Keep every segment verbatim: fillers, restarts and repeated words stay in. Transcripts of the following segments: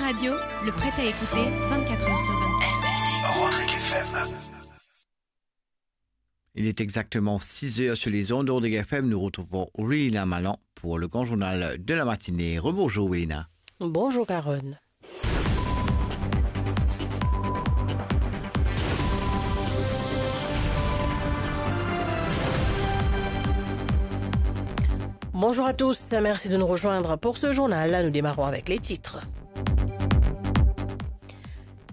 Radio, le prêt à écouter vingt-quatre heures sur vingt-quatre. Rodrigue F M. Il est exactement six heures sur les ondes de Rodrigue F M. Nous retrouvons Wilina Malan pour le grand journal de la matinée. Rebonjour Wilina. Bonjour Carole. Bonjour à tous, merci de nous rejoindre pour ce journal. Nous démarrons avec les titres.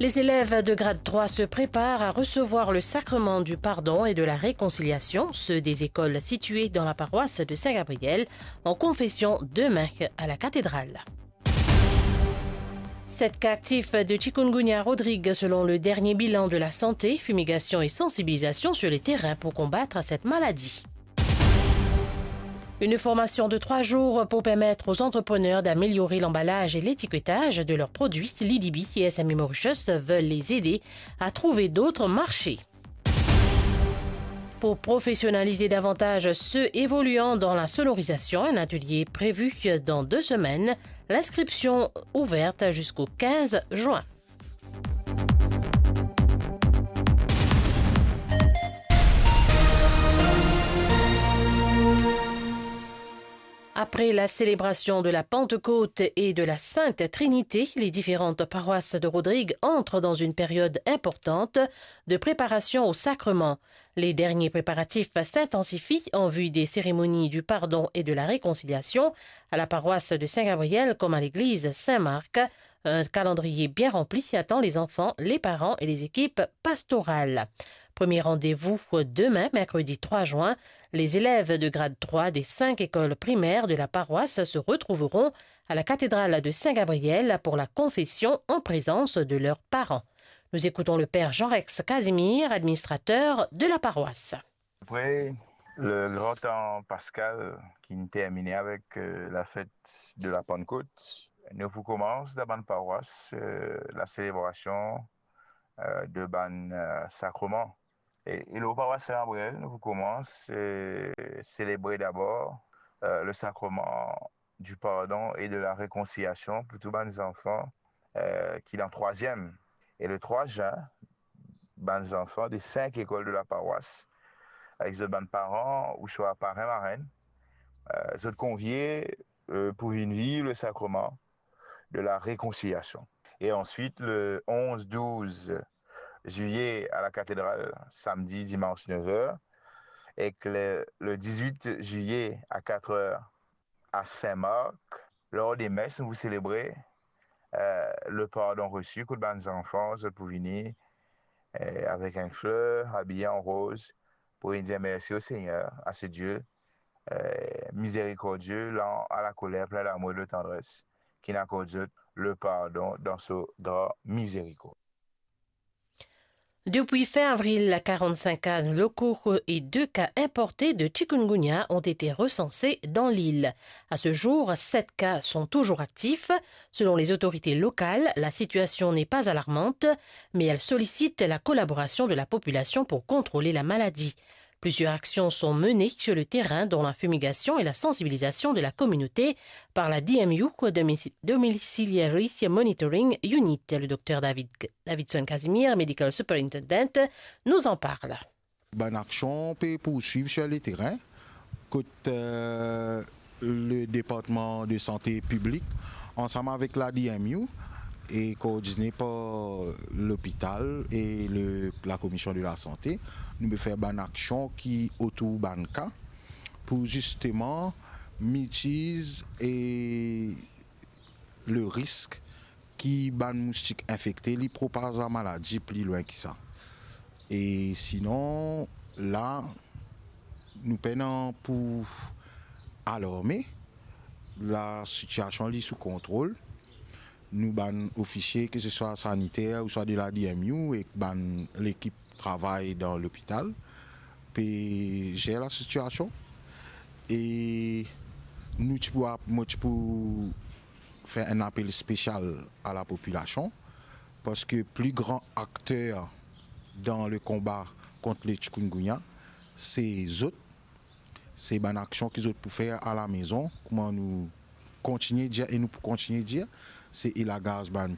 Les élèves de grade trois se préparent à recevoir le sacrement du pardon et de la réconciliation, ceux des écoles situées dans la paroisse de Saint-Gabriel, en confession demain à la cathédrale. Sept cas actifs de chikungunya à Rodrigue, selon le dernier bilan de la santé. Fumigation et sensibilisation sur les terrains pour combattre cette maladie. Une formation de trois jours pour permettre aux entrepreneurs d'améliorer l'emballage et l'étiquetage de leurs produits. L'I D B et S M E Mauritius veulent les aider à trouver d'autres marchés. Pour professionnaliser davantage ceux évoluant dans la sonorisation, un atelier prévu dans deux semaines. L'inscription ouverte jusqu'au quinze juin. Après la célébration de la Pentecôte et de la Sainte Trinité, les différentes paroisses de Rodrigue entrent dans une période importante de préparation au sacrement. Les derniers préparatifs s'intensifient en vue des cérémonies du pardon et de la réconciliation à la paroisse de Saint-Gabriel comme à l'église Saint-Marc. Un calendrier bien rempli attend les enfants, les parents et les équipes pastorales. Premier rendez-vous demain, mercredi trois juin. Les élèves de grade trois des cinq écoles primaires de la paroisse se retrouveront à la cathédrale de Saint-Gabriel pour la confession en présence de leurs parents. Nous écoutons le père Jean-Rex Casimir, administrateur de la paroisse. Apre le gran tan paskal ki'nn termine avek, eh, lafet de la Pannkot, nou pou koumans dan bann parwas, eh, laselebrasion, eh, de bann, eh, sakreman. E, e lor parwas Saint-Gabriel, nou pou koumans, eh, selebre dabor, eh, le sakreman du pardon et de la réconciliation pour tout bann zanfan, eh, ki dan trwaziem. E le trwa zin, bann zanfan de sink lekol de lapawas, avek zot bann paran ouswa parenn, marenn, eh, zot konvie, eh, pou vinn viv le sakreman de la réconciliation. Et ensuite, le onze, douze juillet à la cathédrale, samedi, dimanche, neuf heures, et que le, le dix-huit juillet à quatre heures, à Saint-Marc, lor de mes, nou pou selebre, eh, le pardon reçu, kot bann zanfan, zot pou vini, eh, avek enn fler, abiye an roz, pou vinn dir mersi o Segner, a se Die, eh, mizerikordie, lan a lakoler, plin damour e de tandres, ki'nn akord zot le pardon dan so gran mizerikord. Depuis fin avril, quarante-cinq cas locaux et deux cas importés de chikungunya ont été recensés dans l'île. À ce jour, sept cas sont toujours actifs. Selon les autorités locales, la situation n'est pas alarmante, mais elle sollicite la collaboration de la population pour contrôler la maladie. Plusieurs actions sont menées sur le terrain, dont la fumigation et la sensibilisation de la communauté par la D M U, Domici-, Domiciliary Monitoring Unit. Le docteur David, Davidson Casimir, Medical Superintendent, nous en parle. Bann aksion pe pourswiv sur le terrain, kot, euh, le Département de Santé Publique, ansam avek la D M U, e koordine par lopital e le, la Commission de la Santé, nou pe fer bann aksion ki otour bann ka pou zisteman minimiz e le risk ki bann moustik infekte, li propaz lamaladi pli lwin ki sa. E sinon, la, nou pena pou alarme, lasitiasion li sou kontrol. Nou bann ofisie, ke se swa saniter ouswa de la D M U, ek bann lekip travay dan lopital, pe zer lasitiasion. E nou ti pou ap-, mo ti pou fer enn apel spesial a lapopilasion, parski pli gran akter dan le konba kont le chikungunya, se zot, se bann aksion ki zot pou fer alamezon, kouma nou kontinie dir e nou pou kontinie dir, se elagaz bann